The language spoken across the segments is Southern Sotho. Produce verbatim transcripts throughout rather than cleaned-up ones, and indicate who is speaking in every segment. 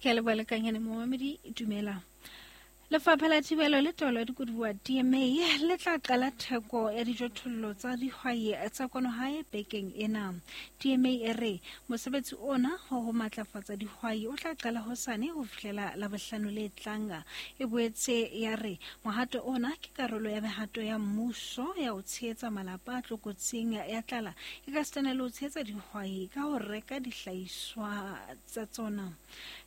Speaker 1: Ke a leboha lekanyane momamedi, dumela. Lefapha la Thibelo le Taolo ya Dikoduwa D M A le tla qala theko ya dijothollo tsa dihwai tsa kwano hae bekeng ena. D M A e re mosebetsi ona wa ho matlafatsa dihwai o tla qala hosane ho fihlela Labohlano le tlang. E boetse ya re mohato ona ke karolo ya mehato ya mmuso ya ho tshehetsa malapa a tlokotsing ya tlala e ka sitana le ho tshehetsa dihwai ka ho reka dihlahiswa tsa tsona.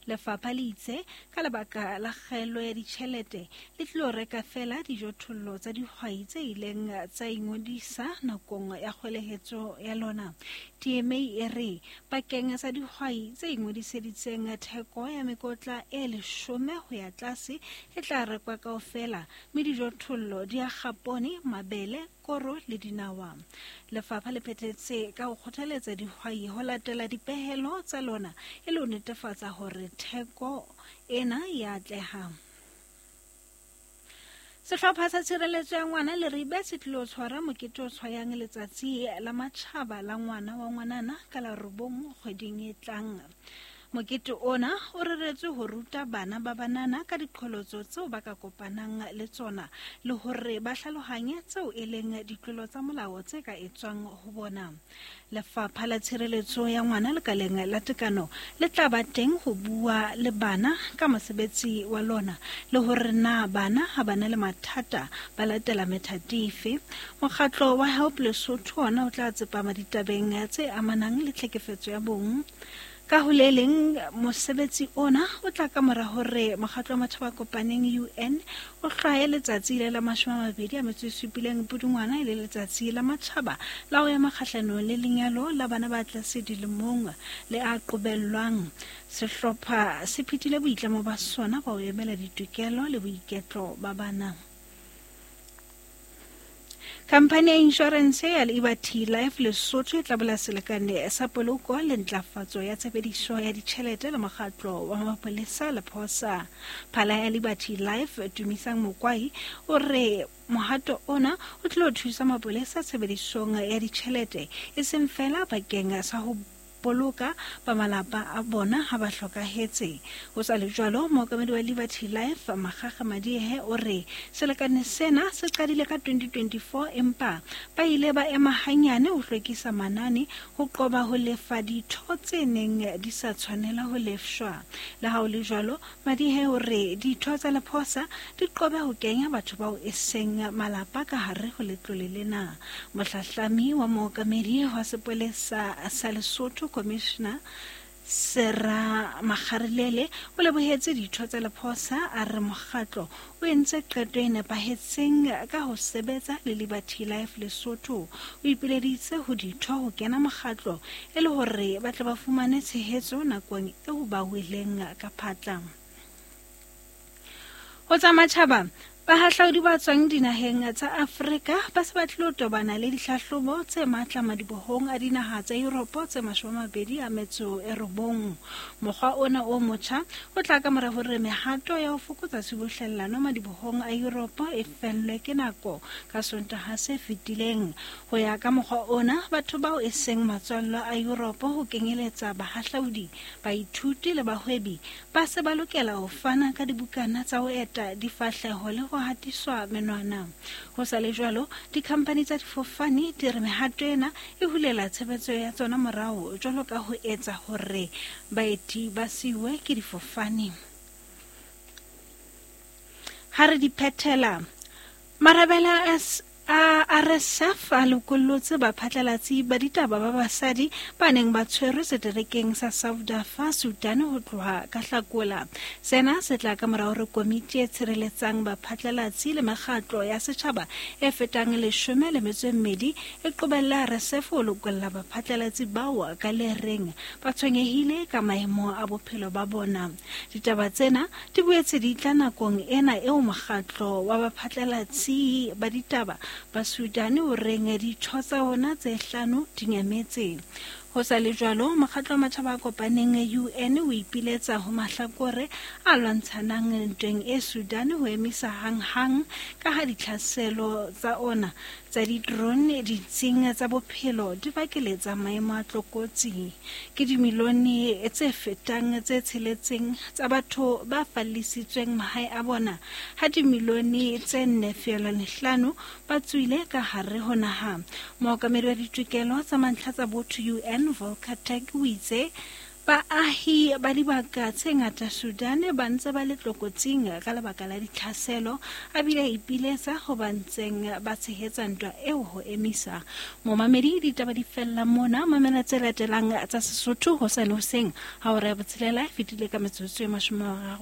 Speaker 1: Lefapha le itse ka lebaka la kgaello ya ditjhelete le tlilo reka fela dijothollo tsa dihwai tse ileng tsa ingodisa nakong ya kgwelehetso ya lona. D M A e re bakeng sa dihwai tse ingodiseditseng theko ya mekotla e leshome ho ya tlase e tla rekwa kaofela, mme dijothollo di akga poone, mabele, koro le dinawa. Lefapha le phethetse ka ho kgothaletsa dihwai ho latela dipehelo tsa lona e le ho netefatsa hore theko ena ya atleha. Sehlopha sa tshireletso ya ngwana Leribe se tlilo tshwara mokete o tshwayang letsatsi la matjhaba la ngwana wa ngwanana ka la robong kgweding e tlang. Mokete ona o reretswe ho ruta bana ba banana ka diqholotso tseo ba ka kopanang le tsona le hore ba hlalohanye tseo e leng ditlolo tsa molao tse ka etswang ho bona. Lefapha la Tshireletso ya Ngwana lekaleng la tekano le tla ba teng ho bua le bana ka mosebetsi wa lona le hore na bana ha ba na le mathata ba latela methati efe. Mokgatlo wa Help Lesotho ona o tla tsepama ditabeng tse amanang le tlhekefetso ya bong. Ka ho le leng, mosebetsi ona o tla ka mora hore mokgatlo wa Matjhaba a Kopaneng U N o hlwaye letsatsi le la mashome a mabedi a metso e supileng Pudungwana e le letsatsi la matjhaba la ho ema kgahlanong le lenyalo la bana ba tlase dilemong le a qobellwang. Sehlopha se phethile boitlamo ba sona ba ho emela ditokelo le boiketlo ba bana. Khamphani ya inshorense ya Liberty Life Lesotho e tla bula selekane sa poloko le ntlafatso ya tshebediso ya ditjhelete le mokgatlo wa mapolesa Lephosa. Phala ya Liberty Life Tumisang Mokwai o re mohato ona o tlilo thusa mapolesa tshebedisong ya ditjhelete e seng fela bakeng sa ho boloka ba malapa a bona ha ba hlokahetse. Ho sa le jwalo, mookamedi wa Liberty Life Makgakga Madiehe o re selekane sena se qadile ka twenty twenty-four empa ba ile ba ema hanyane ho hlwekisa manane ho qoba ho lefa ditho tse neng di sa tshwanela ho lefshwa. Le ha ho le jwalo, Madiehe o re ditho tsa Lephosa di qobe ho kenya batho bao e seng malapa ka hare ho letlole lena. Mohlahlami wa mookamedi wa sepolesa sa Lesotho Commissioner Sera Makgarilele o lebohetse ditho tsa Lephosa a re mokgatlo o entse qeto e nepahetseng ka ho sebetsa le Liberty Life Lesotho. O ipileditse ho ditho ho kena mokgatlo e le hore ba tle ba fumane tshehetso nakong eo ba weleng ka phatla. Ho tsa matjhaba, bahahlaudi ba tswang dinaheng tsa Afrika ba se ba tlilo tobana le dihlahlobo tse matla madibohong a dinaha tsa Europe tse mashome a mabedi a metso e robong. Mokgwa ona o motjha o tla ka mora hore mehato ya ho fokotsa tshubuhlellano madibohong a Europe e fellwe ke nako ka Sontaha se fetileng. Ho ya ka mokgwa ona, batho bao e seng matswallwa a Europe ho kenyeletsa bahahlaudi, baithuti le bahwebi ba se ba lokela ho fana ka dibukana tsa ho eta difahleho le ho hatiswa menwana. Ho sa le jwalo, dikhampani tsa difofane di re mehato ena e hulela tshebetso ya tsona morao jwalo ka ho etsa hore baeti ba siuwe ke difofane. Ha re di phethela, marabele a a R S F a lokollotse baphatlalatsi ba ditaba ba basadi ba neng ba tshwerwe seterekeng sa South Darfur, Sudan ho tloha ka Hlakola. Sena se tla ka mora hore komiti e tshireletsang baphatlalatsi le mekgatlo ya setjhaba e fetang leshome le metso e mmedi e qobella R S F ho lokolla baphatlalatsi bao ka le reng ba tshwenyehile ka maemo a bophelo ba bona. Ditaba tsena di boetse di tla nakong ena eo mokgatlo wa baphatlalatsi ba ditaba ba Sudan o reng ditho tsa ona tse hlano di nyametse. Ho sa le jwalo, mokgatlo wa Matjhaba a Kopaneng U N o ipiletsa ho mahlakore a lwantshanang ntweng e Sudan ho emisa hanghang ka ha ditlhaselo tsa ona tsa di-drone ditsing tsa bophelo di bakeletsa maemo a tlokotsi. Ke dimilione tse fetang tse tsheletseng tsa batho ba fallisitsweng mahae a bona, ha dimilione tse nne feelwane hlano ba tswile ka hare ho naha. Mookamedi wa ditokelo tsa mantlha tsa botho U N Volker Turk o itse baahi ba dibaka tse ngata Sudan ba ntse ba le tlokotsing ka lebaka la ditlhaselo, a bile a ipiletsa ho ba ntseng ba tshehetsa ntwa eo ho emisa. Momamedi, ditaba di fella mona. Mamela tse latelang tsa Sesotho hosane hoseng ha hora ya botshelela e fetile ka metsotso e mashome a mararo.